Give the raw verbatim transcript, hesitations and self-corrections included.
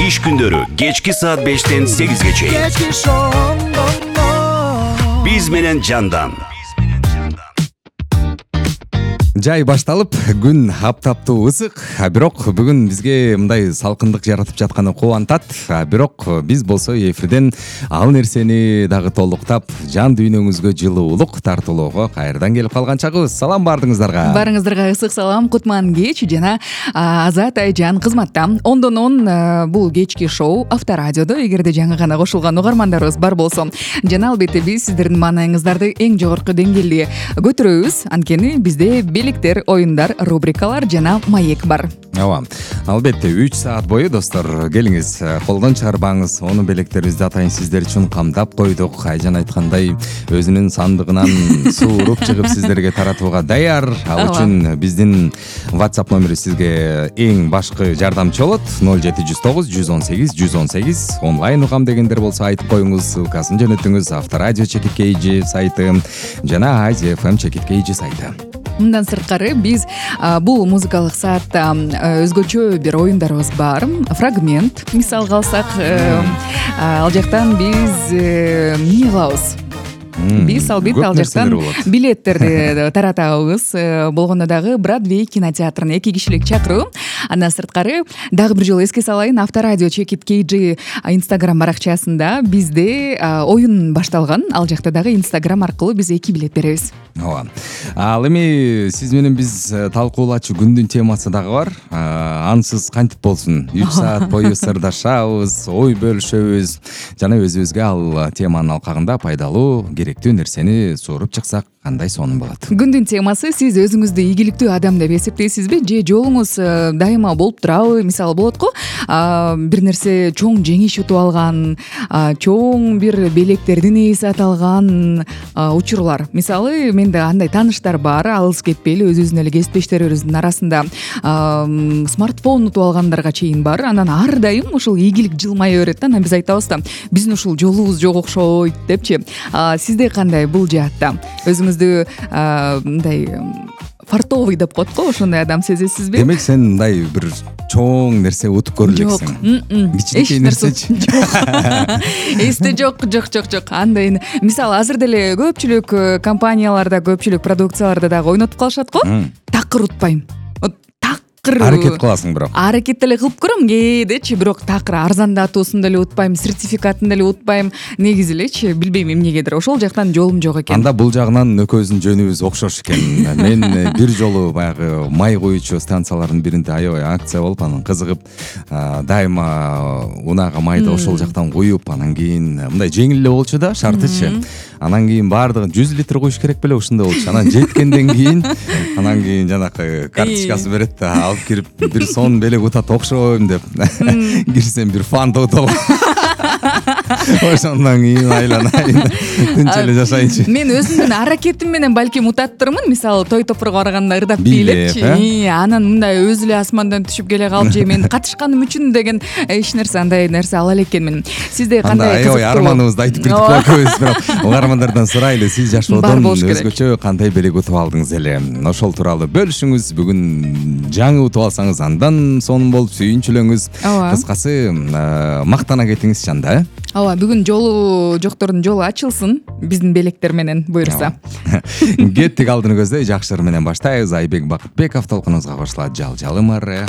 Иш күндөрү кечки саат бештен сегизге чейин. Биз менен Жандан. Жай башталып, күн аптаптуу ысык, а бирок бүгүн бизге мындай салкындык жаратып жатканы кубантат. А бирок биз болсо эфирден ал нерсени дагы толуктап, жан дүйнөңүзгө жылуулук тартуулоого кайрадан келип калган чагыбыз. Салам баардыгыңыздарга. Баарыңыздарга ысык салам, кутман кеч жана Азат Айжан кызматта. Ондон он бул кечки шоу Авторадиодо, эгерде жаңы гана кошулган угармандарыбыз бар болсо, жана албетте биз сиздердин маанайыңыздарды эң жогорку деңгээлге көтөрөбүз. Анткени бизде белектер, оюндар, рубрикалар жана маек бар. Ооба. Албетте үч саат бою достор, келиңиз, колдон чыгарбаңыз. Ону белектерибизди атайын сиздер үчүн камдап койдук. Айжан айткандай, өзүнүн сандыгынан сууруп чыгып сиздерге таратууга даяр. Ал үчүн биздин WhatsApp номери сизге эң башкы жардамчы болот. ноль жети жүз тогуз жүз он сегиз жүз он сегиз. Онлайн угам дегендер болсо айтып коюңуз, ссылкасын жөнөтүңүз. Авторадио чекит кей сайты жана Азия эф эм чекит кей сайты. Мындан сырткары биз бул музыкалык саатта өзгөчө бир оюндарыбыз бар. Фрагмент мисалга алсак, ал жактан биз эмне кылабыз? Биз албетте ал жактан билеттерди таратабыз. Болгондо дагы Бродвей кинотеатрына эки кишилик чакыруу. Андан сырткары дагы бир жолу эске салайын, Авторадио чекит кей Instagram баракчасында бизде оюн башталган. Ал жакта дагы Instagram аркылуу биз эки билет беребиз. Ооба. Ал эми сиз менен биз талкуулачу күндүн темасы дагы бар. Ансыз кантип болсун? үч саат бою сырдашабыз, ой бөлүшөбүз жана өзүбүзгө ал теманын алкагында пайдалуу, керектүү нерсени сууруп чыксак кандай сонун болот? Күндүн темасы: сиз өзүңүздү ийгиликтүү адам деп эсептейсизби, же жолуңуз дайыма болуп турабы? Мисалы болот го, бир нерсе чоң жеңиш утуп алган, чоң бир белектердин ээси аталган учурлар. Мисалы, менде андай тааныштар бар, алыс кетпейли, өзүбүздүн эле кесиптештерибиздин арасында смартфон утуп алгандарга чейин бар. Анан ар дайым ушул ийгилик жылмая берет да. Анан биз айтабыз да, биздин ушул жолубуз жок окшойт депчи. Сизде кандай бул жаатта? Өзүңүздү мындай фартовый деп коет го, ошондой адам сезесизби? Демек сен мындай бир чоң нерсе утуп көрүлөксүң. Жок. Кичинекей нерсечи. Эсте жок, жок, жок, жок. Андай, мисалы, азыр деле көпчүлүк компанияларда, көпчүлүк продукцияларда дагы ойнотуп калышат го. Такыр утпайм. Аракет кыласың бирок. Аракет деле кылып көрөм кээдечи, бирок такыр арзандатуусун деле утпайм, сертификатын деле утпайм. Негизи элечи, билбейм эмнегедир ошол жактан жолум жок экен. Анда бул жагынан экөөбүздүн жөнүбүз окшош экен. Мен бир жолу баягы май куючу станциялардын биринде аябай акция болуп, анан кызыгып, дайыма унаага майды ошол жактан куюп, анан кийин мындай жеңил эле болчу да, шартычы. Анан кийин баардыгын жүз литр куюш керек беле, ушундай болчу. Анан жеткенден кийин, анан кийин жанакы карточкасы берет да, алып кирип бир сон белек утат окшойм деп. Кирсем бир фанта утуп ошондон кийин айланайын, тынч эле жашайынчы. Мен өзүмдүн аракетим менен балким утаттырмын. Мисалы, той топурга барганда ырдап бийлепчи. Анан мындай өзү эле асмандан түшүп келе калып, же мен катышканым үчүн деген эч нерсе, андай нерсе ала элекенмин. Сизде кандай кызыктуу? Анда арманыбызды айтып кирдик го экөөбүз, бирок угармандардан сурайлы, сиз жашоодон өзгөчө кандай белек утуп алдыңыз эле? Ошол тууралуу бөлүшүңүз. Бүгүн жаңы утуп алсаңыз андан сонун болуп сүйүнчүлөңүз. Кыскасы, мактана кетиңиз Жанда. Ооба, бүгүн жолу жоктордун жолу ачылсын биздин белектер менен, буюрса. Кеттик, алдыны көздөй жакшы ыр менен баштайбыз. Айбек Бакытбеков толкунубузга кошулат. Жал жалым ары.